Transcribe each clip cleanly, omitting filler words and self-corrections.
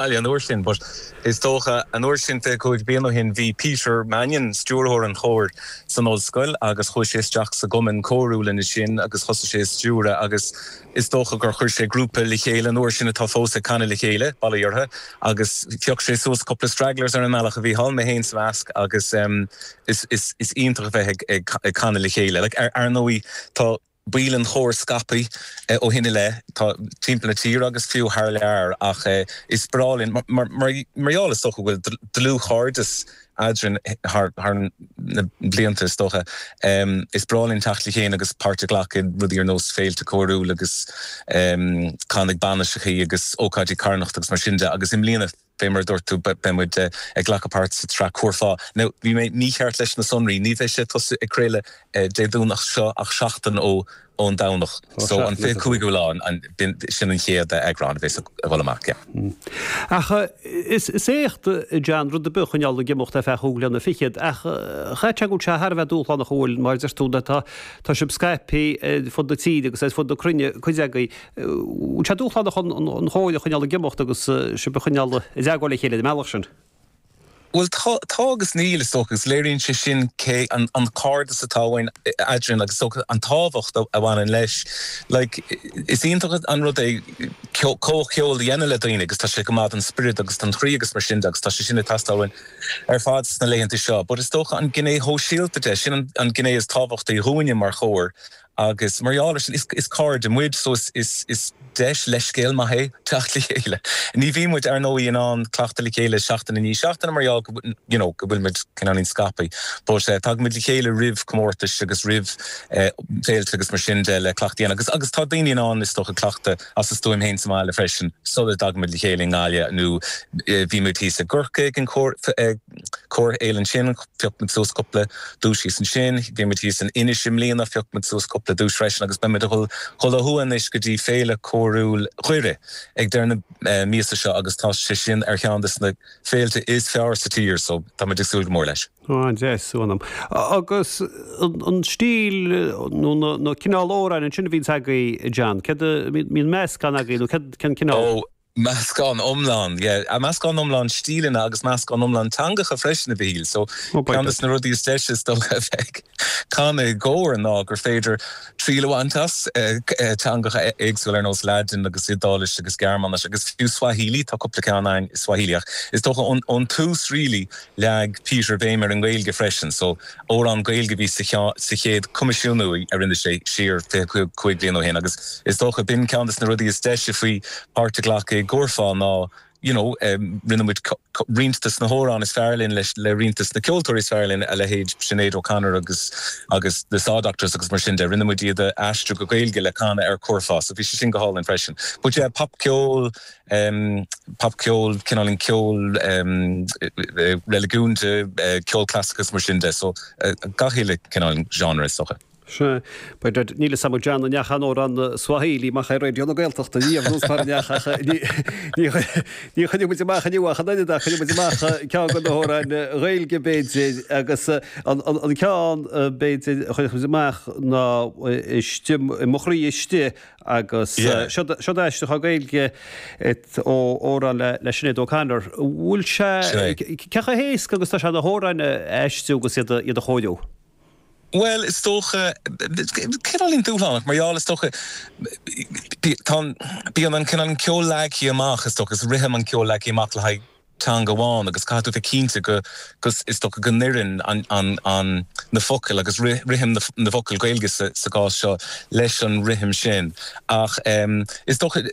mBaile an uair sin, but is dócha an uair sin, 25 bliain ó shin, bhí Peter Mannion, stiúrthóir an chóir, san ollscoil agus chuaigh sé isteach sa gcumann córúil ansin agus thosaigh sé ag stiúradh agus is dócha gur chuir sé grúpa le chéile an uair sin atá fós ag canadh le chéile, bail ó Dhia orthu, agus phioc sé suas cúpla stragglers ar an mbealach a bhí thall, mé féin sa measc agus is is is iontach a bheith ag ag canadh le chéile. Like ar ar ndóigh tá. baill an chóir scaipthe ó shin i leith, tá timpeall na tíre agus fiú thar lear ach is breá linn, mar gheall is dócha go bhfuil dlúthchairdeas eadrainn thar na blianta is dócha, is breá linn teacht le chéile agus páirt a ghlacadh i rudaí ar nós féilte córúil agus canadh ag bainiseachaí agus ócáidí carthanachta agus mar sin de agus i mbliana Fé mar a dúirt tú, beidh muid ag glacadh páirt sa tsraith Curfá. Now, bhí mé mícheart leis na sonraí, ní bheidh sé ag tosú ag craoladh Dé Domhnach seo ach seachtain ó ón Domhnach. So, an 25ú lá, sin an chéad eagrán a bheas ag dul amach, yeah. Ach is éacht, John, rud ar bith a choinneáil ag imeacht ar feadh chúig bhliana fichead, ach chaithfeadh sé go bhfuil sé thar a bheith dúshlánach an bhfuil, mar a deir tú, tá sibh scaipthe ar fud na tíre agus ar fud na cruinne, cuid agaibh. Bhfuil sé dúshlánach an chóir a choinneáil ag imeacht agus sibh a choinneáil i dteagmháil le chéile ar an mbealach sin? Bhuel, tá, tá agus níl, is dócha, agus léiríonn sé sin cé an an cairdeas atá againn eadrainn agus is dócha an tábhacht a bhaineann leis. Like, is iontach an rud é comhcheol a dhéanamh le daoine agus tá sé go maith don spiorad agus don chroí agus mar sin de agus tá sé sin ag teastáil uainn ar fad sna laethanta seo. But is dócha an gné shóisialta de, sin an gné is tábhachtaí dhúinne mar chór Agus mar gheall ar sin, is cairde muid so is deis leithscéal maith é teacht le chéile. Ní bhíonn muid, ar ndóigh, in ann cleachtadh le chéile seachtain i ndiaidh seachtaine mar gheall go you know go bhfuil muid cineáilín scaipthe. But tagann muid le chéile roimh comórtais agus roimh féilte agus mar sin de le cleachtadh a dhéanamh. Agus agus tá daoine in ann is dócha cleachtadh as a stuaim féin sa mbaile freisin sula dtagann muid le chéile i nGaillimh nó bhí muid thíos i gCorcaigh ag an Córfhéile ansin, phioc muid suas cúpla duais thíos ansin. Bhí muid thíos in Inis i mbliana, phioc muid suas cúpla duais freisin agus beidh muid ag dhul ó thuaidh anois go dtí Féile Córúil Dhoire ag deireadh na míosa seo agus tá sé sin ar cheann de na féilte is fearr sa tír so tá muid ag súil go mór leis. An-deas, anam. Agus an stíl nó na cineál amhráin ansin a bhíonns agaibh, John, céard a, mbíonn meascán agaibh nó céard, cén cineál? Ó, Meascán iomlán, yeah. Meascán iomlán stíleanna agus meascán iomlán teangacha freisin, a Mhichíl. So, ceann de na rudaí is deise is dócha a bheith ag canadh i gcór ná gur féidir triail a bhaint as teangacha éagsúla ar nós Laidin agus Iodáilis agus Gearmáinis agus fiú Swahili, tá cúpla ceann againn i Swahili ach is dócha ón tús really leag Peter béim ar an nGaeilge freisin. So, Amhrán Gaeilge a bhí sa chéad choimisiúnú a rinne sé siar 25 bliain ó shin agus is dócha b'in ceann de na rudaí is deise faoi páirt a ghlacadh i gCurfá ná you know rinne muid roinnt de na hamhráin is fearr linn leis le roinnt de na ceoltóirí is fearr linn, a leithéid Sinéad O'Connor agus agus The Saw Doctors agus mar sin de, rinne muid iad a aistriú go Gaeilge le canadh ar Curfá so bhí sé sin go hálainn freisin. But yeah, popcheol, Popcheol, cineáilín ceol reiligiúnda, ceol clasaiceach agus mar sin de. So, gach uile cineál genre is dócha. Sea. B'fhéidir, níl fhios agam John an ndeachaigh an amhrán Swahili amach ar Raidió na Gaeltachta riamh nó mar a ndeachaigh ach ní ní chuirfidh muid amach inniu ach an oiread ach cuirfidh muid amach ceann de na hamhráin Ghaeilge b'fhéidir agus an an ceann b'fhéidir a chuirfidh muid amach ná istigh i mo chroí istigh Agus seo aistriúchán Gaeilge ó amhrán le Sinéad O'Connor. Bhfuil sé, cé chomh héasca agus atá sé na hamhráin a aistriú agus iad a chóiriú? Bhuel, is dócha, cineáilín dúshlánach, mar gheall, is dócha, tá, bíonn an cineál ceol leagtha amach, is dócha, is rithim an ceol leagtha amach le haghaidh teanga amháin agus caithfidh tú bheith cinnte go, go, is dócha go n-oireann an, an, an, na focail agus rithim na, na bhfocal Gaeilge sa, sa gcás seo leis an rithim sin. Ach is dócha,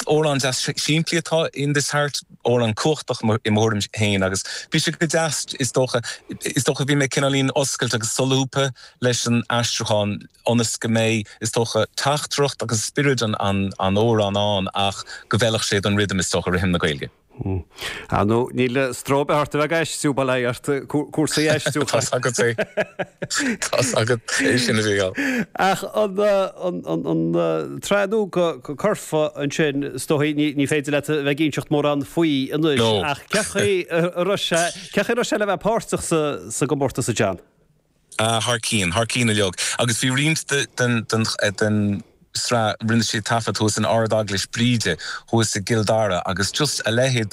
amhrán deas simplí atá in This Heart, amhrán cumhachtach i mo thuairim féin agus bhí sé go deas, is dócha, is dócha bhí mé cineáilín oscailte agus solúbtha leis an aistriúchán ionas go mbeidh, is dócha, teachtaireacht agus spiorad an, an, an amhráin ann ach go bhfeilfeadh sé don rithim, is dócha, rithim na Gaeilge. Ar ndóigh, níl stró ar bith ort a bheith ag aistriú, bail ó Dhia ort, cúrsaí aistriúcháin. Tá's agat é. Tá's agat é sin a Mhícheáil. Ach an tsraith nua Curfá ansin, is dóigh, ní féidir leat a bheith ag inseacht mórán faoi anois, ach cén chaoi a raibh sé, cén chaoi a raibh sé le bheith páirteach sa gcomórtas, a John? Ah, thar cionn, thar cionn uilig. Agus bhí roinnt den, den, den. sraith, rinne siad taifead thuas in Ard-Eaglais Bríde thuas i gCill Dara agus just a leithéid de.